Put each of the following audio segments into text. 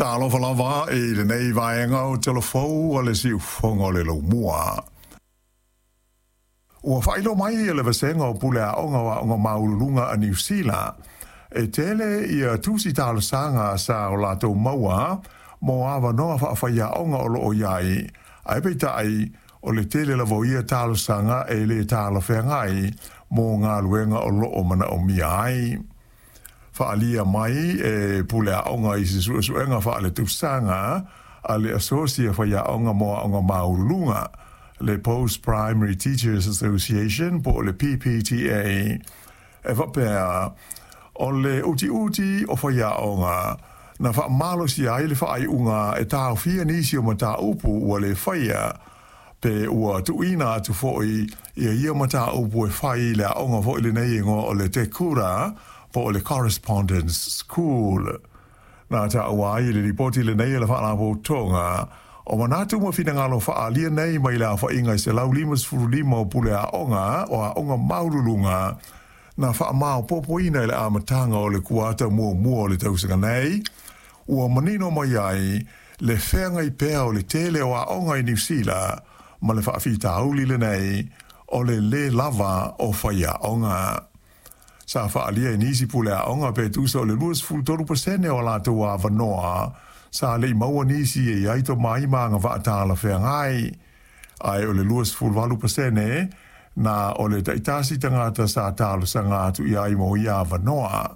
Talofa lava i lenei vaega o Tala Fou a le Siufofoga o le Laumua. Ua faailoa mai e le Vasega o Pule Aoga o Aoga Maualuluga a Niu Sila, e tele ia tusi talosaga sa o latou maua mo avanoa faafaiaoga o loo i ai, ae peitai o le tele lava o ia talosaga e le talafeagai mo galuega o loo manaomia ai. Faaalia mai e pule aoga i se suesuega faaletausaga a le Asosi a Faiaoga mo Aoga Maualuluga, le Post Primary Teachers Association po o le PPTA, e faapea o le utiuti o faiaoga na faamalosia ai le faaiuga e taofia nisi o mataupu ua le faia pe ua tuuina atu foi ia mataupu e fai i le aoga foi lenei e igoa o le Te Kura po o le Correspondence School. Na taua ai i le lipoti lenei a le Faalapotopotoga o manatu ma finagalo faaalia nei mai le aofaiga e 155 o pule aoga o aoga maualuluga na faamaopoopoina i le amataga o le kuata muamua o le tausaga nei, ua manino mai ai le feagai pea o le tele o aoga i Niu Sila ma le faafitauli lenei o le lē lava o faiaoga. Sa faaalia e nisi pule aoga pe tusa o le 23% o a latou avanoa sa le i maua nisi e i ai tomai ma agavaa talafeagai, ae o le 28% na o le taitasi tagata sa talosaga atu i ai mo ia avanoa.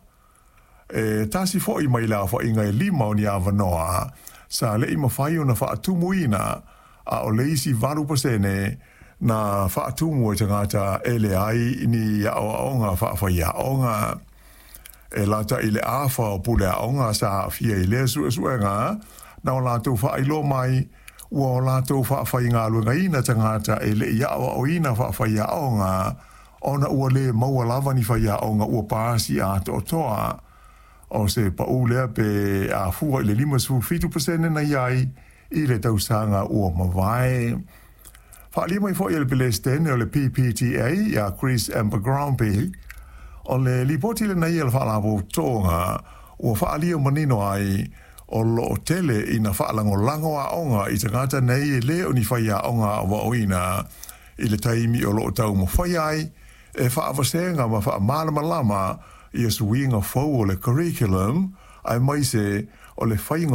E tasi foi mai le aofaiga e 5 o ni avanoa sa le i mafai ona faatumuina, a o le isi 8% na faatumu e tagata e leai ni aoaoga faafaiaoga. E lata i le afa o pule aoga sa aafia i lea suesuega na o latou faailoa mai ua o latou faafaigaluegaina tagata e le i aoaoina faafaiaoga ona ua le maua lava ni faiaoga ua pasi atoatoa. O se pau lea pe a fua i le 57% na i ai i le tausaga ua mavae. Faaalia mai foi e le Peresetene o le PPTA ia Chris Abercrombie, o le lipoti lenei a le Faalapotopotoga ua faaalia manino ai o loo tele ina faalagolago aoga i tagata nei e le o ni faiaoga aoaoina i le taimi o loo taumafai ai e faavasega ma faamalamalama ia suiga fou o le curriculum aemaise o le faiga